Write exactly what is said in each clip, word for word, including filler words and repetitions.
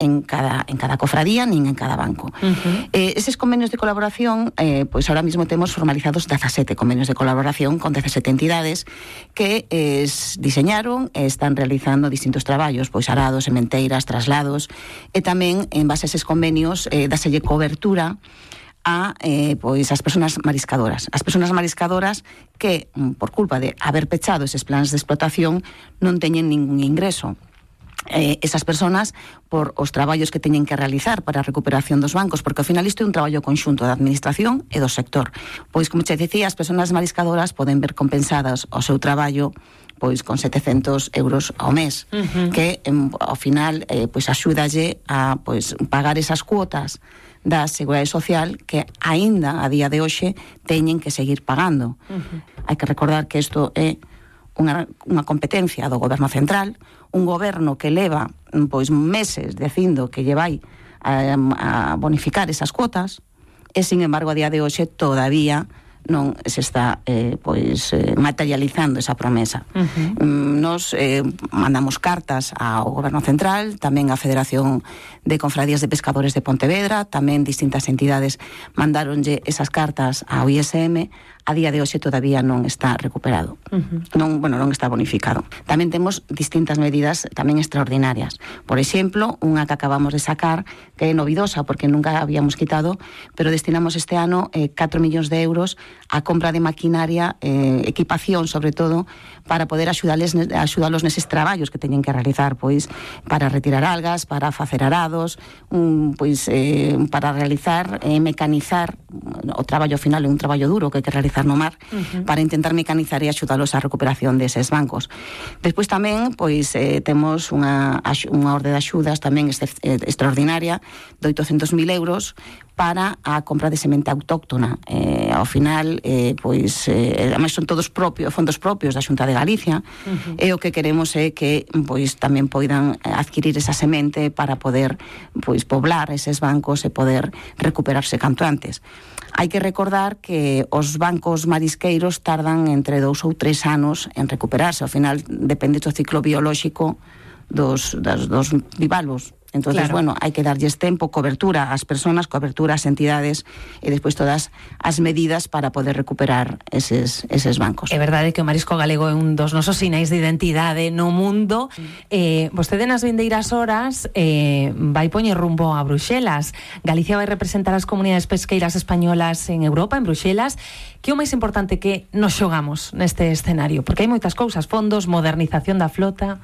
en cada, en cada cofradía nin en cada banco. Uh-huh. Eh, eses convenios de colaboración, eh, pois ahora mismo temos formalizados dezasete convenios de colaboración con dezasete entidades que eh, diseñaron e están realizando distintos traballos, pois arados, sementeiras, traslados, e tamén en base a eses convenios eh, dáselle cobertura a eh, pois as persoas mariscadoras. As persoas mariscadoras que, por culpa de haber pechado eses plans de explotación, non teñen ningún ingreso. Eh, esas persoas, por os traballos que teñen que realizar para a recuperación dos bancos, porque ao final isto é un traballo conxunto da administración e do sector. Pois, como che dicía, as persoas mariscadoras poden ver compensadas o seu traballo pois con setecentos euros ao mes, uh-huh. que em, ao final eh, pois axúdalle a pois pagar esas cuotas da Seguridade Social que aínda a día de hoxe teñen que seguir pagando. Uh-huh. Hai que recordar que isto é unha, unha competencia do Goberno Central, un goberno que leva pois meses dicindo que lle vai a, a bonificar esas cuotas e, sin embargo, a día de hoxe todavía non se está eh, pois eh, materializando esa promesa. Uh-huh. Nos eh, mandamos cartas ao Goberno Central, tamén á Federación de Confradías de Pescadores de Pontevedra, tamén distintas entidades mandáronlle esas cartas ao I S M. A día de hoxe todavía non está recuperado. Uh-huh. Non, bueno, non está bonificado. Tamén temos distintas medidas tamén extraordinarias. Por exemplo, unha que acabamos de sacar, que é novidosa porque nunca habíamos quitado, pero destinamos este ano eh, catro millóns de euros a compra de maquinaria, eh, equipación, sobre todo, para poder axudales, axudalos neses traballos que teñen que realizar, pois, para retirar algas, para facer arados, un, pois, eh, para realizar, eh, mecanizar, o traballo final é un traballo duro que hai que realizar no mar, uh-huh. para intentar mecanizar e axudalos á recuperación deses bancos. Despois tamén, pois, eh, temos unha, unha orde de axudas tamén este, eh, extraordinaria de oitocentos mil euros para a compra de semente autóctona. Eh, ao final, eh, pois, eh, además son todos propios, fondos propios da Xunta de Galicia, uh-huh. e o que queremos é que, pois, tamén poidan adquirir esa semente para poder, pois, poblar eses bancos e poder recuperarse canto antes. Hai que recordar que os bancos marisqueiros tardan entre dous ou tres anos en recuperarse. Ao final, depende do ciclo biolóxico dos, das, dos bivalvos. Entonces, claro. bueno, hai que darlles tempo, cobertura ás persoas, cobertura ás entidades e despois todas as medidas para poder recuperar eses, eses bancos. É verdade que o marisco galego é un dos nosos sinais de identidade no mundo. Eh, vostede nas vindeiras horas eh, vai poñer rumbo a Bruxelas. Galicia vai representar as comunidades pesqueiras españolas en Europa, en Bruxelas. Que é o máis importante que nos xogamos neste escenario? Porque hai moitas cousas, fondos, modernización da flota.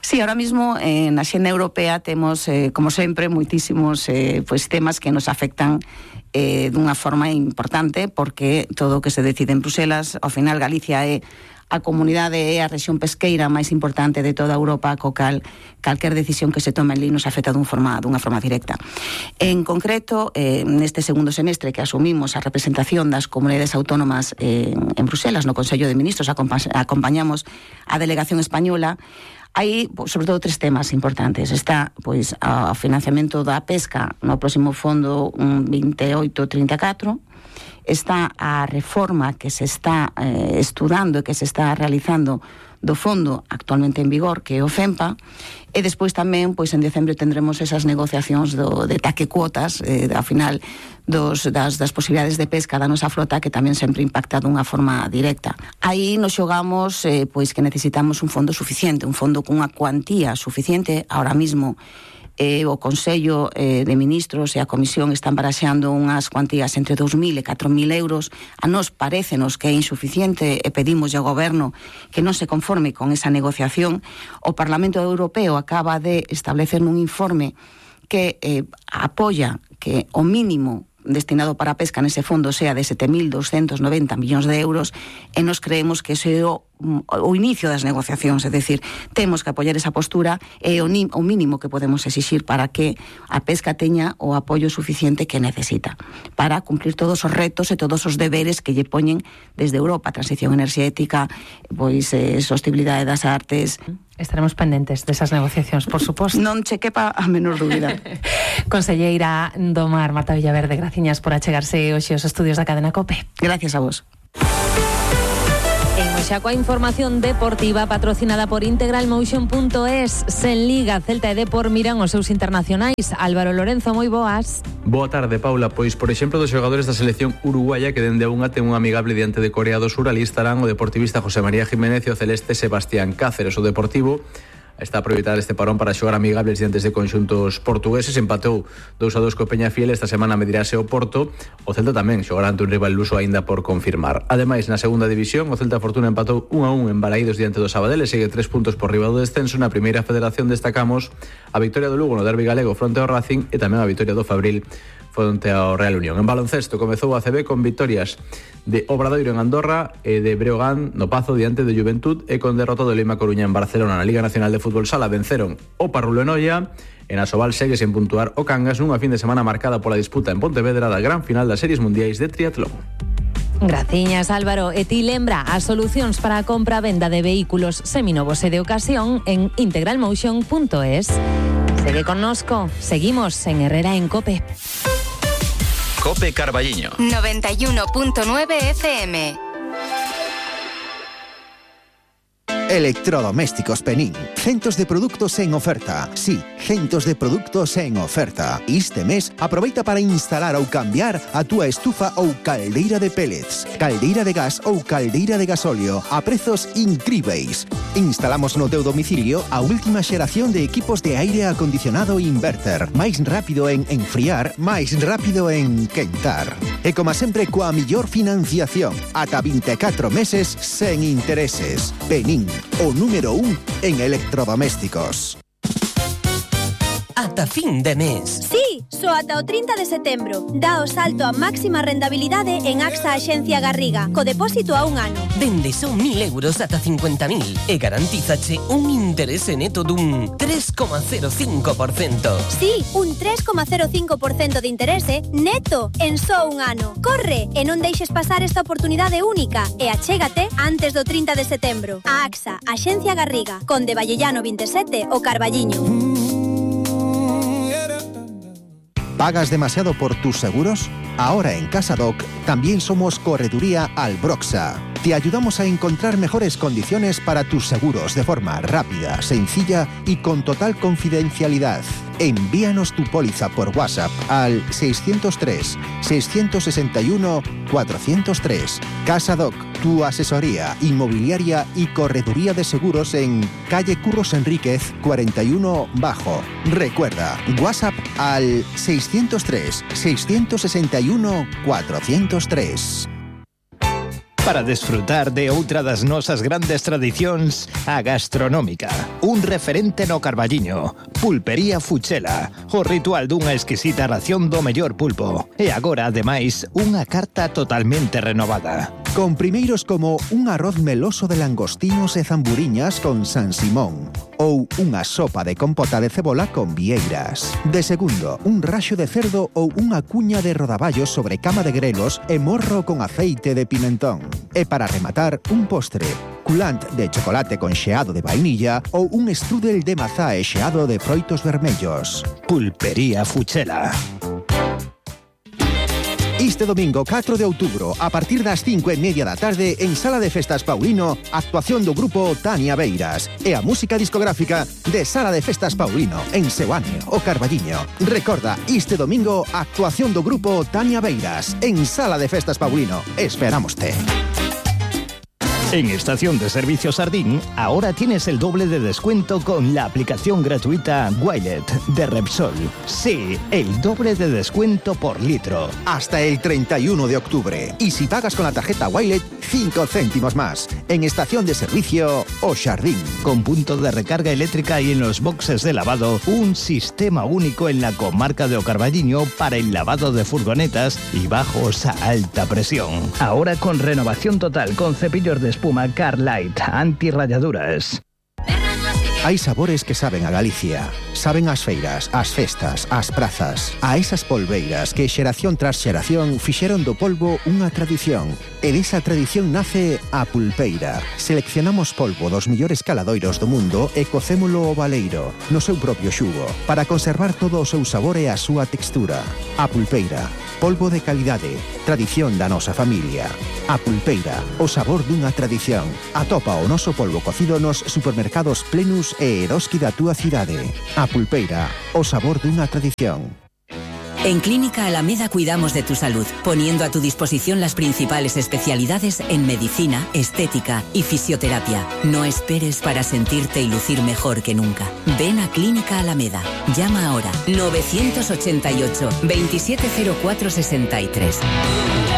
Sí, ahora mismo eh, na xenda europea temos, eh, como sempre, moitísimos eh, pues, temas que nos afectan eh, dunha forma importante, porque todo o que se decide en Bruxelas, ao final Galicia é a comunidade é a rexión pesqueira máis importante de toda Europa, co cal calquer decisión que se tome ali nos afecta dun forma, dunha forma directa. En concreto, eh, neste segundo semestre que asumimos a representación das comunidades autónomas eh, en Bruxelas, no Consello de Ministros, acompa- acompañamos a delegación española. Hai, sobre todo, tres temas importantes. Está, pois, o financiamento da pesca no próximo fondo veintioito trinta e catro. Está a reforma que se está eh, estudando e que se está realizando do fondo actualmente en vigor, que é o FEMPA, e despois tamén, pois en decembro tendremos esas negociacións do, de taque cuotas, eh, ao final dos, das, das posibilidades de pesca da nosa flota, que tamén sempre impacta dunha forma directa. Aí nos xogamos eh, pois que necesitamos un fondo suficiente, un fondo cunha cuantía suficiente. Ahora mismo eh, o Consello eh, de Ministros e a Comisión están baraxeando unhas cuantías entre dous mil e catro mil euros. A nos parécenos que é insuficiente e pedimos ao Goberno que non se conforme con esa negociación. O Parlamento Europeo acaba de establecer nun informe que eh, apoia que o mínimo destinado para a pesca nese fondo sea de sete mil doscientos noventa millóns de euros, e nos creemos que ese é o, o inicio das negociacións, é dicir, temos que apoiar esa postura, e o, o mínimo que podemos exixir para que a pesca teña o apoio suficiente que necesita para cumplir todos os retos e todos os deberes que lle poñen desde Europa, transición enerxética, pois eh, sostenibilidade das artes. Estaremos pendentes desas negociacións, por suposto. Non che quepa a menor dúbida. Conselleira do Mar, Marta Villaverde, graciñas por achegarse hoxe aos estudios da Cadena COPE. Gracias a vos. Imos xa coa información deportiva patrocinada por integral motion punto es. Sen Liga, Celta e Depor miran os seus internacionais. Álvaro Lorenzo, moi boas. Boa tarde, Paula. Pois, por exemplo, dos xogadores da selección uruguaya que dende a unha ten un amigable diante de Corea do Sur, ali estarán o deportivista José María Jiménez e o celeste Sebastián Cáceres. O Deportivo está a aproveitar este parón para xogar amigables diante de conxuntos portugueses. Empatou dous a dous co Peñafiel. Esta semana medirase o Porto. O Celta tamén xogará ante un rival luso aínda por confirmar. Ademais, na segunda división, o Celta Fortuna empatou un a un en Balaídos diante do Sabadell e segue tres puntos por riba do descenso. Na primeira federación destacamos a victoria do Lugo no derbi galego fronte ao Racing e tamén a victoria do Fabril fronte ao Real Unión. En baloncesto comezou a A C B con victorias de Obradoiro en Andorra e de Breogán no Pazo diante de Juventud e con derrota do Lima Coruña en Barcelona. Na Liga Nacional de Fútbol Sala venceron o Parrulo en Noia. En Asobal segue sen puntuar o Cangas nunha fin de semana marcada pola disputa en Pontevedra da gran final das series mundiais de triatlón. Graciñas, Álvaro. E ti lembra as solucións para a compra e venda de vehículos seminovos e de ocasión en integral motion punto es. Segue connosco. Seguimos en Herrera en Cope. Cope Carballiño noventa y uno punto nueve F M. Electrodomésticos Penín. Centos de produtos en oferta. Sí, centos de produtos en oferta. Este mes, aproveita para instalar ou cambiar a túa estufa ou caldeira de pellets, caldeira de gas ou caldeira de gasóleo a prezos incríveis. Instalamos no teu domicilio a última xeración de equipos de aire acondicionado inverter. Máis rápido en enfriar, máis rápido en quentar. E como sempre, coa millor financiación. Ata vinte e catro meses sen intereses. Penín, o número un en electrodomésticos. Ata fin de mes. Sí, só ata o trinta de setembro. Dá o salto a máxima rendabilidade en AXA Axencia Garriga, co depósito a un ano. Dende son mil euros ata cincuenta mil e garantízache un interese neto dun tres coma cero cinco por cento. Sí, un tres coma cero cinco por cento de interese neto en só un ano. Corre e non deixes pasar esta oportunidade única e achégate antes do trinta de setembro. A AXA Axencia Garriga, Conde Vallellano vinte e sete, o Carballiño. ¿Pagas demasiado por tus seguros? Ahora en CasaDoc también somos Correduría Albroxa. Te ayudamos a encontrar mejores condiciones para tus seguros de forma rápida, sencilla y con total confidencialidad. Envíanos tu póliza por WhatsApp al seiscientos tres, seiscientos sesenta y uno, cuatrocientos tres. CasaDoc, tu asesoría inmobiliaria y correduría de seguros en calle Curros Enríquez cuarenta y uno Bajo. Recuerda, WhatsApp al seiscientos tres, seiscientos sesenta y uno, cuatrocientos tres. Para desfrutar de outra das nosas grandes tradicións, a gastronómica. Un referente no Carballiño. Pulpería Fuchela. O ritual dunha exquisita ración do mellor pulpo. E agora, ademais, unha carta totalmente renovada. Con primeiros como un arroz meloso de langostinos e zamburiñas con San Simón. Ou unha sopa de compota de cebola con vieiras. De segundo, un raxo de cerdo ou unha cuña de rodaballos sobre cama de grelos e morro con aceite de pimentón. E para rematar, un postre, culant de chocolate con xeado de vainilla ou un strudel de mazá e xeado de froitos vermellos. Pulpería Fuchela. Este domingo catro de outubro, a partir das cinco e media da tarde, en Sala de Festas Paulino, actuación do grupo Tania Beiras e a música discográfica de Sala de Festas Paulino, en Seoane, o Carballiño. Recorda, este domingo, actuación do grupo Tania Beiras en Sala de Festas Paulino. Esperámoste. En Estación de Servicio Sardín, ahora tienes el doble de descuento con la aplicación gratuita Wilet de Repsol. Sí, el doble de descuento por litro. Hasta el treinta y uno de octubre. Y si pagas con la tarjeta Wilet, cinco céntimos más. En Estación de Servicio O Sardín. Con punto de recarga eléctrica y en los boxes de lavado, un sistema único en la comarca de O Carballiño para el lavado de furgonetas y bajos a alta presión. Ahora con renovación total con cepillos de espuma Carlight, antirrayaduras. Hai sabores que saben a Galicia. Saben as feiras, as festas, as prazas. A esas polveiras que xeración tras xeración fixeron do polvo unha tradición. E desa tradición nace a pulpeira. Seleccionamos polvo dos millores caladoiros do mundo e cocémolo ao baleiro, no seu propio xugo, para conservar todo o seu sabor e a súa textura. A pulpeira, Polvo de calidade, tradición da nosa familia. A Pulpeira, o sabor dunha tradición. Atopa o noso polvo cocido nos supermercados Plenus e Eroski da túa cidade. A Pulpeira, o sabor dunha tradición. En Clínica Alameda cuidamos de tu salud, poniendo a tu disposición las principales especialidades en medicina, estética y fisioterapia. No esperes para sentirte y lucir mejor que nunca. Ven a Clínica Alameda. Llama ahora novecientos ochenta y ocho, veintisiete cero cuatro sesenta y tres.